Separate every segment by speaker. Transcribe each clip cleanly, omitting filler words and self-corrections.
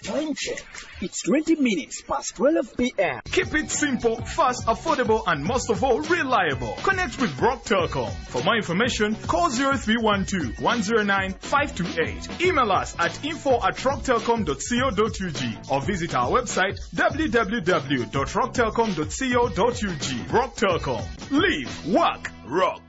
Speaker 1: Time check. It's 20 minutes past 12 p.m.
Speaker 2: Keep it simple, fast, affordable, and most of all, reliable. Connect with Rock Telcom. For more information, call 0312 109 528. Email us at info@rocktelcom.co.ug or visit our website www.rocktelcom.co.ug. Rock Telcom. Live, work, rock.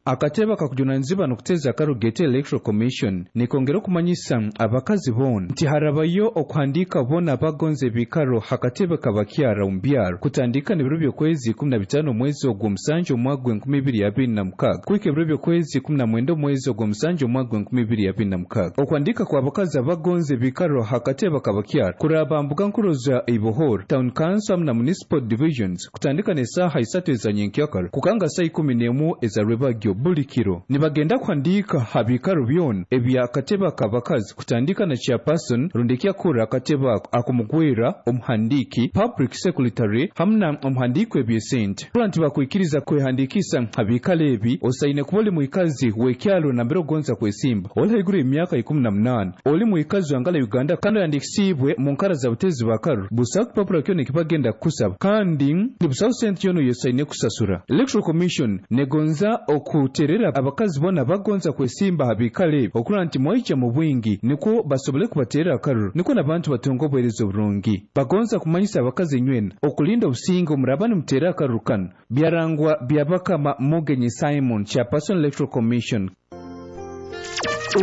Speaker 3: Akatebe akakujunanizibwa n'okuteeza akarugete Electoral Commission nikongera okumanyisa abakazi boona nti harabayo okuhandiika boona abagonza ebikaro hakatebe kabakyara omu byaro kutandika n'ebiro by'okwezi 15 omwezi ogw'omusanju omwaka gw'e 2026 kuhika ebiro by'okwezi 19 omwezi ogw'omusanju omwaka gw'e 2026. Okuhandiika kw'abakazi abagonza ebikaro hakatebe kabakyara kuraba mbuga nkuru za Ibohor, Town Council hamu na Municipal Divisions kutandika n'esaaha 3 eza nyenkyakara kukanga saa 11 eza rwebagyo buli kiro. Nibagenda kuhandiika ha biikaro byona ebyakatebe ak'abakazi kutandika na chairperson rundi ekyakura akatebe ako akumugwera omuhandiiki, public secretary hamu na omuhandiiki w'ebyesente. Kurora nti bakwikiriza kwehandiikisa ha biikaro ebi, osaine kuba oli mwikazi w'ekyaro nambere ogonza kwesimba, oli haiguru y'emyaka 18, oli mwikazi wa ngala Uganda kandi oyandiikisiibwe mu nkara za butezi b'akaruru. Busaho kipapura kyona ekibagenda kukusaba kandi busaho sente yoona oyosaine kusasura. Electoral Commission negonza okuterera abakazi boona bagonza kwesimba ha biikaro ebi okurora nti mwaija mu bwingi nikwo basobole kubaterera akaruru nikwo n'abantu batunga obuheereza oburungi. Bagonza kumanyisa abakazi inywena okulinda obusinge omuraba nimuteera akaruru kanu. Byarangwa Byabakama Mugenyi Simon, Chairperson, Electoral Commission.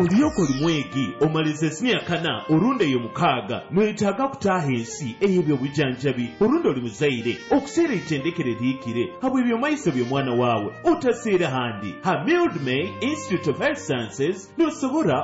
Speaker 4: Olyoka oli mwegi omalize siniya kana orundi ey'omukaaga, noyetaaga kutaaha ensi ey'ebyobujanjabi, orundi oli muzaire okuseera eitendekero erihikire habw'ebyomaiso by'omwana waawe, otaseera handi. Ha Mildmay Institute of Health Sciences nosobora.